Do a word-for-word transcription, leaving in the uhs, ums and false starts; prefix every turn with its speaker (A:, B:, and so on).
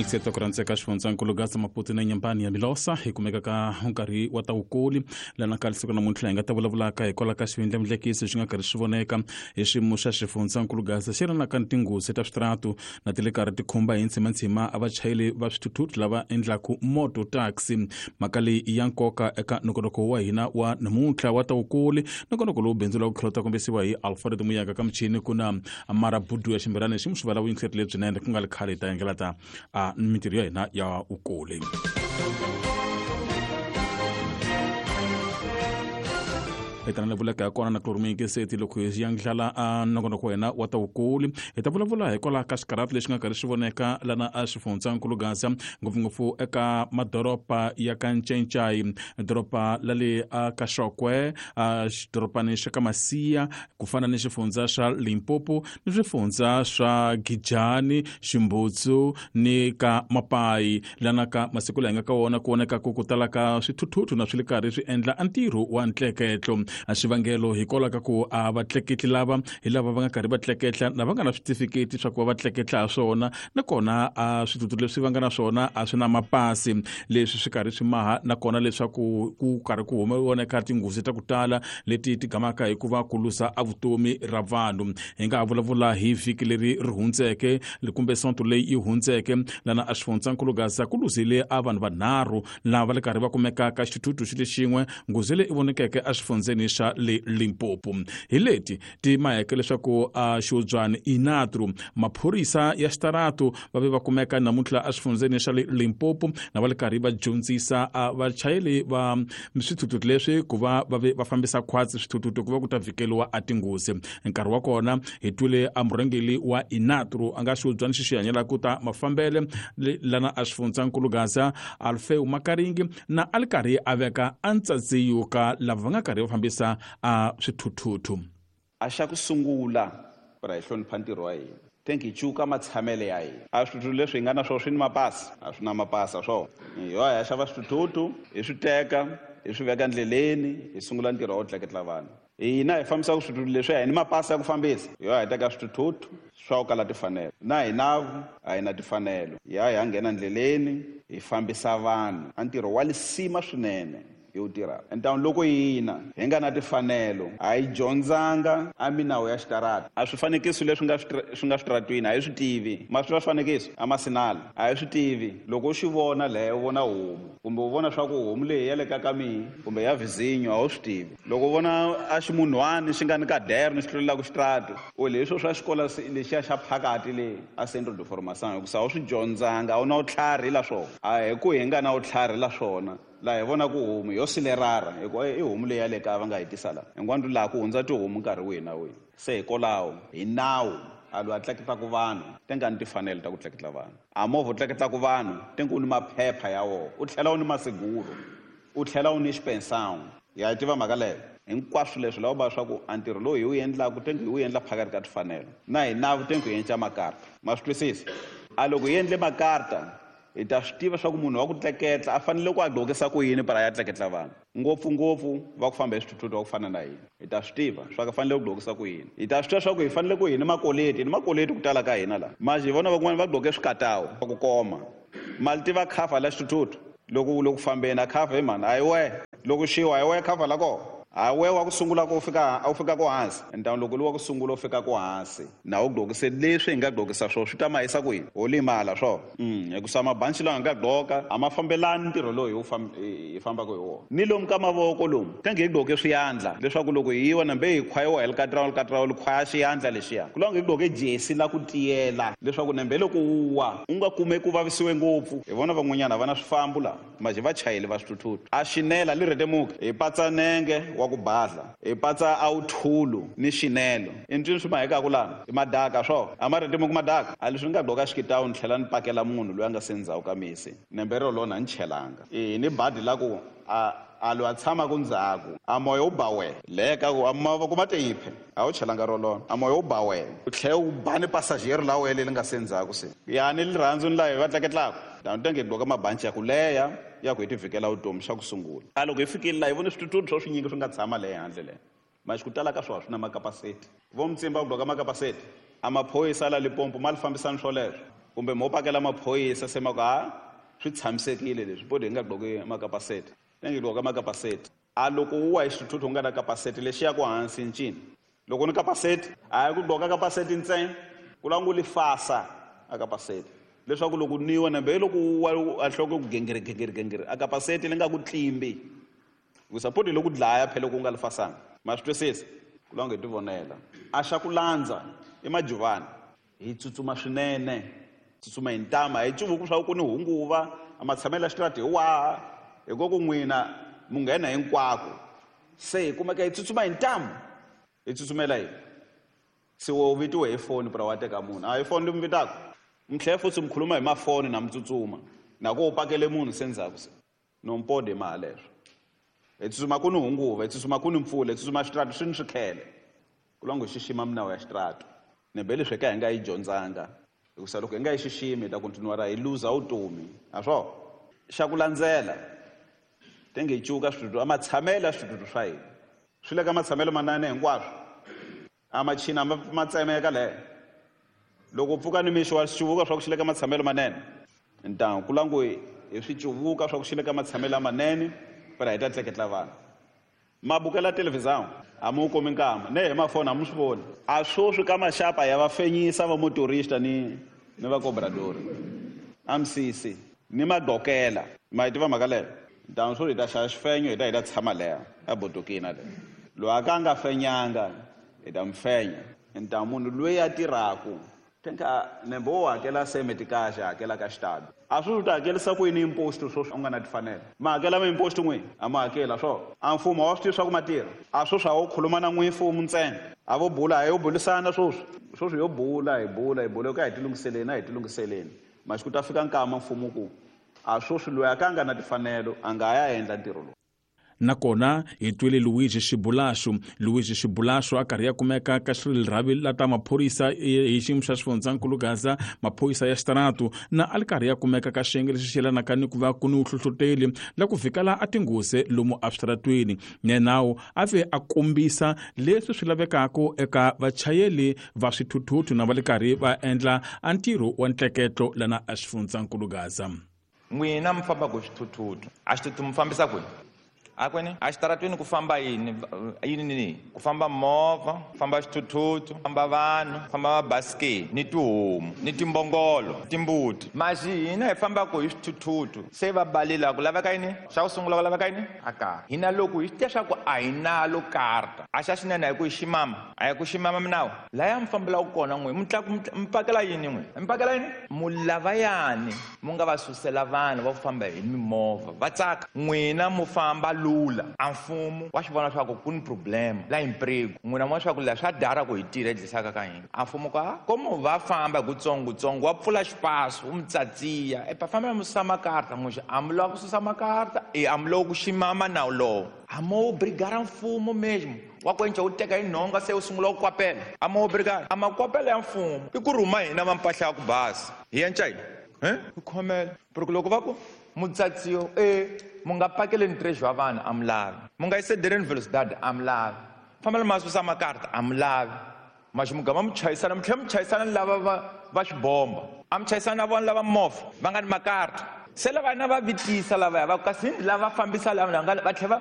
A: Muyingiseti ku rhandzeka xifundzankulu Gaza Maputo na Nyambani ya Milosa hi kumeka ka nkarhi wa ta vukuli lana ka siku namuntlha hi nga ta vulavulaka hikwalaho ka xivindlamudlekiso xi nga karhi xi voneka hi xiyimo xa xifundzankulu Gaza xi ri na ka tinghozi ta switaratu na ti le karhi ti khumba hi ntshimantshima a vachayeri va swithuthuthu lava endlaku moto taxi. Mhaka leyi i ya nkoka eka nongonoko wa hina wa namuntlha wa ta vukuli, nongonoko lowu bindzu la ku tlhela ta kombisiwa hi Alfred Muyaka ka michini ku na Marabudu ya Ximbirani xi muxivala vuyingiseri lebyinene ku nga ri khale hi ta yengela ta a mintirho ya hina ya vukuli. Hi ta na vuleka ya kona na kloromiyingiseti loko hi yandlala a nongonoko wa hina wa ta vukuli hi ta vulavula hikwalaho ka xikaratu lexi nga karhi xi voneka lana a xifundzankulu Gaza, ngopfungopfu eka madoroba ya ka Ncencai, doroba la le a ka Xokwe, a xidorobani xa ka Masiya, ku fana ni xifundza xa Limpopo ni swifundza swa Gijani, Ximbutsu ni ka Mapai. Lana ka masiku laha hi nga ka wona ku voneka ku ku tala ka swithuthuthu na swi le karhi swi endla a ntirho wa ntleketlo. A xivangelo hikwalaho ka ku a vatleketli lava hi lava va nga karhi va tleketla na va nga na switifiketi swa ku va va tleketla ha swona, nakona a swithuthuthu leswi va nga na swona a swi na mapasi. Leswi swi karhi swi maha nakona leswaku ku karhi ku voneka tinghozi ta ku tala leti ti gamaka hi ku va ku luza a vutomi ra vanhu. Hi nga ha vulavula hi vhiki leri ri hundzeke kumbe sonto leyi yi hundzeke lana a xifundzankulu Gaza ku luzile a vanhu vanharhu lava va le karhi va kumeka ka xithuthuthu xi le xin'we, nghozi leyi vonekeke a xifundzeni xa le Limpopo. Hi leti ti maheke leswaku a xiudzwani Inatru maphorisa ya xitaratu va ve va kumeka namuntlha a xifundzeni xa le Limpopo na va le karhi va dyondzisa a vachayeri va swithuthuthu leswi ku va va ve va fambisa khwatsi swithuthuthu ku va ku ta vhikeliwa a tinghozi. Nkarhi wa kona hi twile a murhangeri wa Inatru a nga xiudzwani xi xi hanyelaka ku ta mafambele lana a xifundzankulu Gaza Alfeu Makaringi na a li karhi a veka a ntsadziyo ka lava va nga karhi va fambisa a swithuthuthu.
B: A xa ku sungula ra hi hlonipha ntirho wa hina, thank you cuka matshamele ya hina. A swithuthuthu leswi hi nga na swona swi ni mapasi, a swi na mapasi a swona. Hi ya hi xava swithuthuthu hi swi teka hi swi veka ndleleni hi sungula ntirho wa ku tleketla vanhu. Hina hi fambisaka swithuthuthu leswi hi ni mapasi ya ku fambisa, hi ya hi teka swithuthuthu swa ku kala timfanelo na hina a hi na timfanelo, hi ya hi ya nghena ndleleni hi fambisa vanhu. A ntirho wa lisima swinene hi wu tirhaka. Ntawuni loko hina hi nga na timfanelo a hi dyondzanga a minawu ya xitarata, a swifanekiso leswi nga swi nga switaratwini a hi swi tivi. Ma swi tiva swifanekiso a masinala a hi swi tivi. Loko u xi vona leyo u vona homu kumbe u vona swa ku homu leyi ya le ka ka mihi kumbe ya vizinyo a wu swi tivi. Loko u vona a ximunhwani xi nga ni kaderno xi tlulelaka xitaratu u leswo swa xikolo lexiya xa phakati le a Centro de Formação, hikusa a wu swi dyondzanga, a wu na vutlhari la swona. A hi ku hi nga na vutlhari la swona laha hi vona ku homu yo silerara hi ku i homu leyi ya le kaya va nga hi tisa laha hinkwanu laha ku hundza tihomu nkarhi wihi na wihi. Se hikwalaho hi nawu a loyi a tleketlaka vanhu ti nga ni timfanelo ta ku tleketla vanhu, a movha u tleketlaka vanhu ti nga u ni maphepha ya wona, u tlhela u ni masiguro, u tlhela u ni xipensão. Ya yi tiva mhaka leyo hinkwaswo leswi lava va swa ku a ntirho lowu hi wu endlaka ti nga hi wu endla phakati ka timfanelo na hi nawu ti nga hi endla makarta. Ma swi twisisa? A loko hi endle makarta hi ta swi tiva swa ku munhu wa ku tleketla a fanele ku a gqokisa ku yini para ya tleketla vanhu, ngopfungopfu va ku famba hi swithuthuthu va ku fana na hina. Hi ta swi tiva swa ku fanele ku gqokisa ku yini, hi ta swi tiva swa ku hi fanele ku hi ni makoleti, hi ni makoleti ku tala ka hina laha. Manje hi vona van'wani va gqoke swikatawu va ku koma mali tiva khafa la xithuthuthu loko u le ku fambeni a khafa hi mhani a hi wehe, loko xiwa a hi wehe khafa la kona, a wehe wa ku sungula ku fika a wu fika ku hansi. Ntawuni loko lu wa ku sungula u fika ku hansi na u gqokise leswi hi nga gqokisa swona swi ta mahisa ku yini, ho limala swona. Mm, hikusa mabanci lawa hi nga gqoka a ma fambelani ntirho lowu hi wu fam-, hi fambaka hi wona. Ni lomu ka mavoko lomu tenge hi gqoke swiyandla leswaku loko hi yiwa nambe hi khwayiwa hi likatirawu likatirawu li khwaya xiyandla lexiya, ku lava hi gqoke jesi la ku tiyela leswaku nambe loko wu wa u nga kumeki ku vavisiwe ngopfu. Hi vona van'wanyana va na swifambo laha maje va chayeli va swithuthuthu a xinela li rhetemuka hi patsa nenge wa ku badla hi patsa a wu thulu ni xinelo. I ntwini swi mahekaku laha i madaka swona a ma rhetemuki madaka a leswi ni nga gqoka xikitawu ni tlhela ni pakela munhu loyi a nga se ndzhaku ka misi nembe ro lona ni chelanga. E ni badi la ku a a loyi a tshamaka ndzhaku a moya wu ba wena leka ku a mavoko ma teyiphe a wu chelanga ro lona a moya wu ba wena u tlhela u ba ni passager la wena leri nga se ndzhaku se ya ni rirhandzu ni laha hi va tleketlaka tani tenge hi gqoka mabanci ya ku leha ya ku hi ti vhikela vutomi xa ku sungula. A loko hi fikile laha hi vone swithuthuthu swa swinyingi swi nga tshama le handle le maxi ku tala ka swona swi na makapaseti vo mutsimba ku gqoka makapaseti a maphorisa la Limpopo ma li fambisani swoleswo. Kumbe mo pakela maphorisa se ma ku ha swi tshamisekile leswi podi hi nga gqoki makapaseti. Ni ngi gqoka makapaseti. A loko wu wa hi xithuthuthu u nga na kapaseti lexi ya ku hansi ncini. Loko ni kapaseti, a hi ku gqoka kapaseti ntsena, ku lava ngo li fasa a kapaseti. Leswaku loko niwa nambe loko wu wa a nhloko ku gengere gengere gengere a kapaseti li nga ku tlimbi. Hikusa podi loko dlaya phela loko u nga li fasanga. Ma swi twisisa? Ku lava ngo hi tivonela. A xa ku landza i majuvani. Hi tsutsuma swinene. Tsutsuma hi ntama, hi cuvuku swa ku ni hunguva, a matshamelo ya xitarata hi waha, hi ku ku n'wina mu nghena hinkwako. Se hi kumeka hi tsutsuma hi ntamu. Hi tsutsumela yini? Se wo vitiwe hi foni pra wa teka munhu. A hi foni leyi mi vitaka. Mi tlhela futhi mi khuluma hi mafoni na mi tsutsuma. Na ku u pakele munhu se ndzhaku se. No mpode ma leswo. Hi tsutsuma ku ni hunguva, hi tsutsuma ku ni mpfula, hi tsutsuma xitarata swi ni swikhele. Ku lava ngo xixima minawu ya xitarata. Ni be leswi ka hi nga yi dyondzanga. Hikusa loko hi nga yi xiximi hi ta continue ra hi luza vutomi. A swo? Xa ku landzela. Tenge hi cuka switutu, a matshamelo ya switutu swa hina. Swi le ka matshamelo manene hinkwaswo. A machina ma, ma tsemeka le. Loko u pfuka ni mixo wa swi cuvuka swa ku xi le ka matshamelo manene. Ntangu ku langu hi swi cuvuka swa ku xi le ka matshamelo manene, phela hi ta tleketla vanhu. Ma bukela televhizão, a mu kumi nkama, ne hi mafoni a mu swi voni. A swoswi ka maxapa ya va fenyisa va motorista ni, ni va cobrador. A misisi ni magqokela. Ma yi tiva mhaka leyo? Ntangu swo hi ta xava xifenyo hi ta hi ta tshama leya a bodokini le. Loyi a ka a nga fenyanga hi ta mi fenya. Ntangu munhu loyi a tirhaku thenka nembe wo hakela semeti kahle hakela ka xitalo. A swi ta hakelisa ku yini imposto sweswi u nga na timfanelo. Ma hakela ma imposto n'wini? A ma hakela swo. A mfumo wa swi tivi swa ku ma tirha. A sweswi a wo khuluma na n'wini mfumo ntsena. A vo bula, a yo bulisana sweswi. Sweswi yo bula, hi bula, hi bula ka hi tilunghiseleni, a hi tilunghiseleni. Masiku ta fika nkama mfumo ku a sweswi loyi a ka a nga na timfanelo a nga ya endla ntirho lowu.
A: Nakona hi twile Luigi Xibulaxu. Luigi Xibulaxu a karhi ya kumeka ka xirhavi la ta maphorisa hi xiyimo xa xifundzankulu Gaza, maphorisa ya xitaratu, na a li karhi ya kumeka ka xiyenge lexi xi yelanaka ni ku va ku ni vuhlohloteli la ku fikela a tinghozi lomu eswitaratweni. Nenawu a ve a kombisa leswi swi lavekaka eka vachayeri va swithuthuthu na va le karhi va endla a ntirho wa ntleketlo lana a xifundzankulu Gaza.
C: N'wina mi fambaka hi swithuthuthu, a xithuthuthu mi fambisa kwihi? Akwene a xitaratweni ku famba yini yini ni ku famba movha, ku famba xithuthuthu, ku famba vanhu, ku famba mabasikeni, ni tihomu, ni timbongolo, timbuti. Maxi hina hi fambaka hi swithuthuthu se va balela ku laveka yini? Xa ku sungula ku laveka yini? A karta. Hina loko hi swi tiva swa ku a hi nalo karta, a xa xinene a hi ku hi ximama, a hi ku ximama minawu. Laya mi fambelaka kona n'we, mi tla mi pakela yini n'we? Mi pakela yini? Mu lavayani mu nga va susela vanhu va ku famba hi mimovha va tsaka. N'wina mu famba lula. A mfumo wa swi vona swa ku ku ni problem la emprego. N'wina mo swa ku la swa dara ku hi tirha hi dlisaka ka hina. A mfumo ka komo va famba hi kutsongotsongo wa pfula xipaso u mi tsatsiya. E pa fambela mu susa makarta n'we a mu lava ku susa makarta e a mu lava ku ximama nawu lowo. A mo brigara mfumo mesmo. Wa ku enca u teka hi nhonga se u sungula ku kwapela. A mo brigara a makwapela ya mfumo i ku rhuma hina va mpahla ya ku basa. Hi enca yini? Eh? Ku khomela. Porque loko va ku mutsatsiyo e mu nga pakeleni treasure wa vanhu a mi lavi. Mu nga yisedeleni velocidade a mi lavi. Fambela ma susa makarta a mi lavi. Maxi mugama mi chayisana, mi tlhela mi chayisana ni lava va, va xibomba. A mi chayisana na vona lava movha va nga ni makarta. Se lava na va vitisa lavaya va ku kasi lava fambisa lava nga va tlhela